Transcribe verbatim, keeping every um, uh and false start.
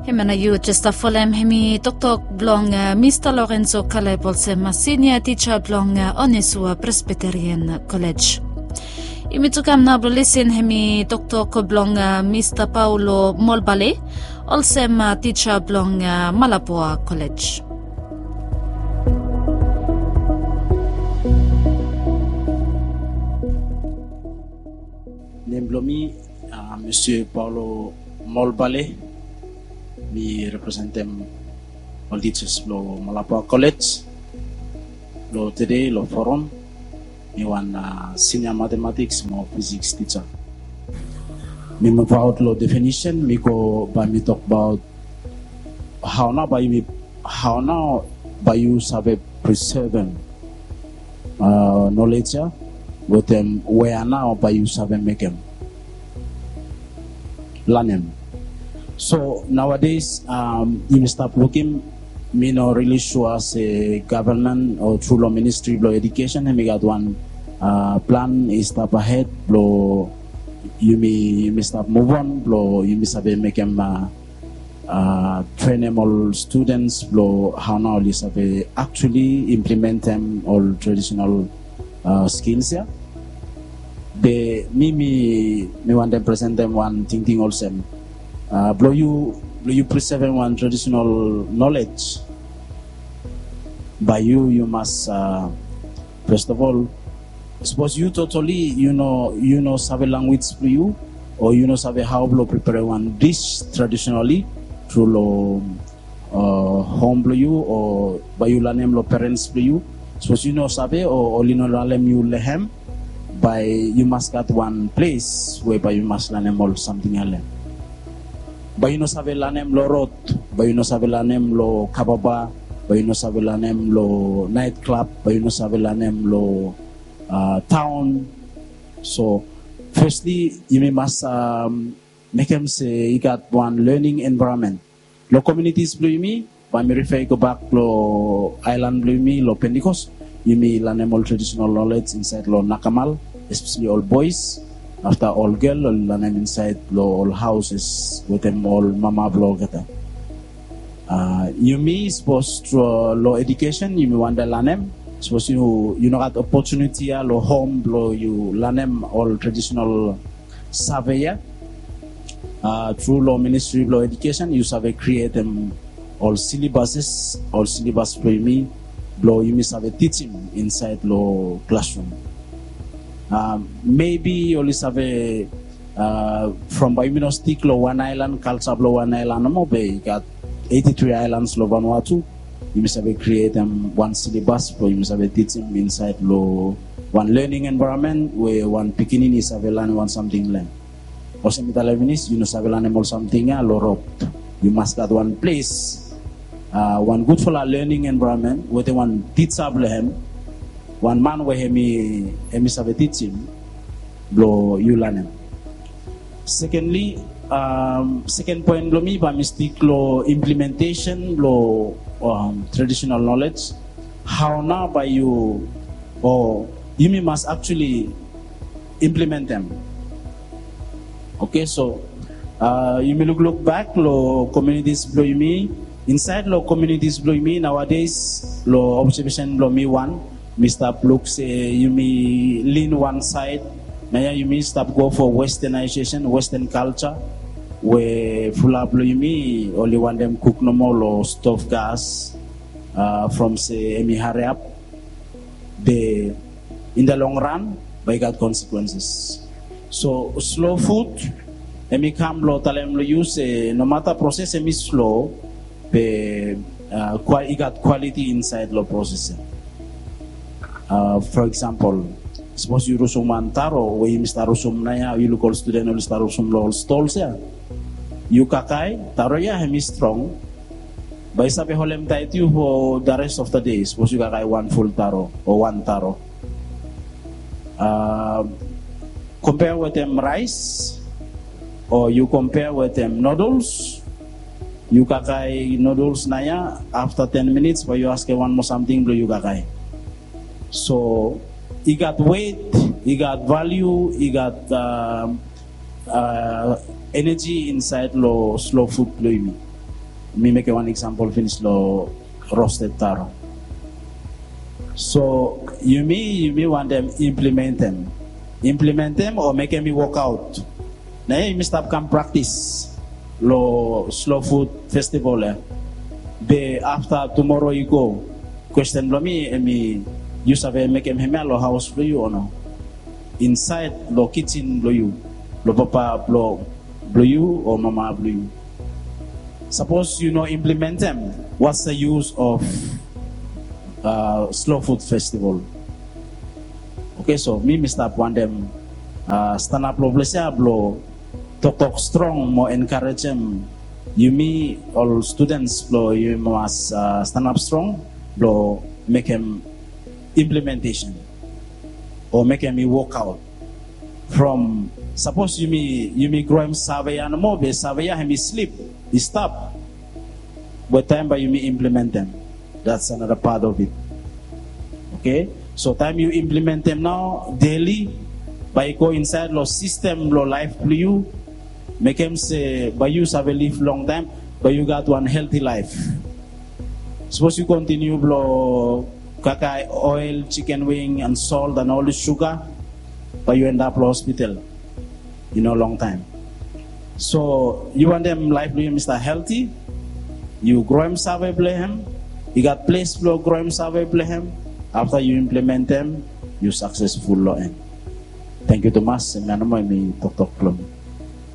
Hemia nao yu jes stap folem, hemi toktok blong Mista Lorenzo Kaleb, olsem sinia tija blong Onesua Presbyterian College. Yumi tu kam nao blong lisin hemi toktok blong Mista Paulo Molbale, olsem tija blong Malapua College. Nem blong mi Monsieur Paulo Molbale. Mi representem ol tijas blong Malapua College. Long tede long forum, mi wan senior mathematics mo physics tija. Mi muvaot long definition, mi go bae mi tokbaot hao nao bae yumi, hao nao bae yu save prisevem knowledge ya, wetem wea nao bae yu save mekem, lanem. So nowadays, yumi stap lukim, mi no rili sua se gavman o tru long ministri blong edukesen hemi gat wan plan i stap ahed blong yumi, yumi stap muvon blong yumi save mekem, trenem ol studens blong hao nao oli save actually implementem ol traditional skills ya. Be mi, mi, mi wantem presentem wan tingting olsem, blong yu, blong yu prisevem wan traditional knowledge, bae yu, yu mas, first of all, sapos yu totally yu no, yu no save lanwis blong yu, o yu no save hao blong priperem wan dish traditionally tru long hom blong yu, o bae yu lanem long perens blong yu. Sapos yu no save o oli no lalem yu long hem, bae yu mas gat wan ples we bae yu mas lanem ol samting ya long hem. Bae yu no save lanem long rod, bae yu no save lanem long kababa, bae yu no save lanem long naet klab, bae yu no save lanem long taon. So firstly, yumi mas mekem se i gat wan learning environment long communities blong yumi. Bae mi refer i gobak long aelan blong yumi long Pentecost, yumi lanem ol traditional knowledge insaed long nakamal, especially ol boes. Afta ol gel oli lanem insaed long ol houses wetem ol mama blong olgeta. Yumi sapos tru long edukesen yumi wantem lanem, sapos yu, yu no gat opotuniti ya long hom blong yu lanem ol traditional save ya, tru long ministri blong edukesen yu save krietem ol syllabuses, ol syllabus blong yumi, blong yumi save tijim insaed long klasrum. Maybe oli save, from bae yumi no stik long wan aelan, kalja blong wan aelan nomo, be i gat eighty-three aelans long Vanuatu. Yumi save krietem wan syllabus blong yumi save tijim insaed long wan learning environment we wan pikinini i save lanem wan samting long hem. Olsem mi talem finis, yu no save lanem ol samting ya long rod. Yu mas gat wan ples, wan gudfala learning environment wetem wan tija blong hem, wan man we hemi, hemi save tijim blong yu lanem. Secondly, second point blong mi bae mi stik long implementation blong traditional knowledge. Hao nao bae yu, o yumi mas actually implementem. Okay, so yumi lukluk bak long communities blong yumi. Insaed long communities blong yumi nowadays, long observation blong mi wan, mi stap luk se yumi lin wan saed. Naoia yumi stap go for westernization, western culture, we fulap blong yumi oli wantem kuk nomo long stove gas, from se hemi hariap. Be in the long run bae i gat consequences. So slow food, hemi kam blong talem long yu se nomata proses hemi slow, be i gat quality insaed long proses ya. For example, sapos yu rusum wan taro we yumi stap rusum naoia, yu luk ol studen oli stap rusum long ol stols ya. Yu kakae, taro ya hemi strong, bae i save holem taet yu for the rest of the day, sapos yu kakae wan ful taro o wan taro. Kompea wetem raes, o yu kompea wetem noodles. Yu kakae noodles naoia, afta ten minits bae yu askem wan moa samting blong yu kakae. So i gat wet, i gat valiu, i gat eneji insaed long slow food blong yumi. Mi mekem wan eksampol finis long rosted taro. So yumi yumi wantem implementem implementem o mekem mi wokaot. Na ya yumi stap kam praktis long slow food festival ya. Be afta tumoro i go, kwesten blong mi em i, yu save mekem hemia long haos blong yu o no? Insaed long kijin blong yu, long papa blong blong yu o mama blong yu. Sapos yu no implementem, what's the use of uh, slow food festival? Oke, so mi mi stap wantem uh, stanap long ples ya blong toktok strong mo enkarejem yumi ol students blong yumi mas uh, stanap strong blong mekem implementation o mekem i wokaot. From sapos yumi yumi groem save ya nomo be save ya hem i slip, i stap. Be taem bae yumi implementem, that's another part of it. Oke, so taem yu implementem nao deli, bae i go insaed long sistem blong laef blong yu, mekem se bae yu save liv longtaem, bae yu gat wan helti laef. Sapos yu kontiniu blong kakae oel, chicken wing and salt and ol suga, bae yu endap long hospital i no longtaem. So yu wantem laef blong yu hem i stap helti, yu groem save blong hem, i gat ples blong groem save blong hem. Afta yu implementem, yu saksesful long en. Tangkiu tumas. Em ya nomo em i toktok blong mi.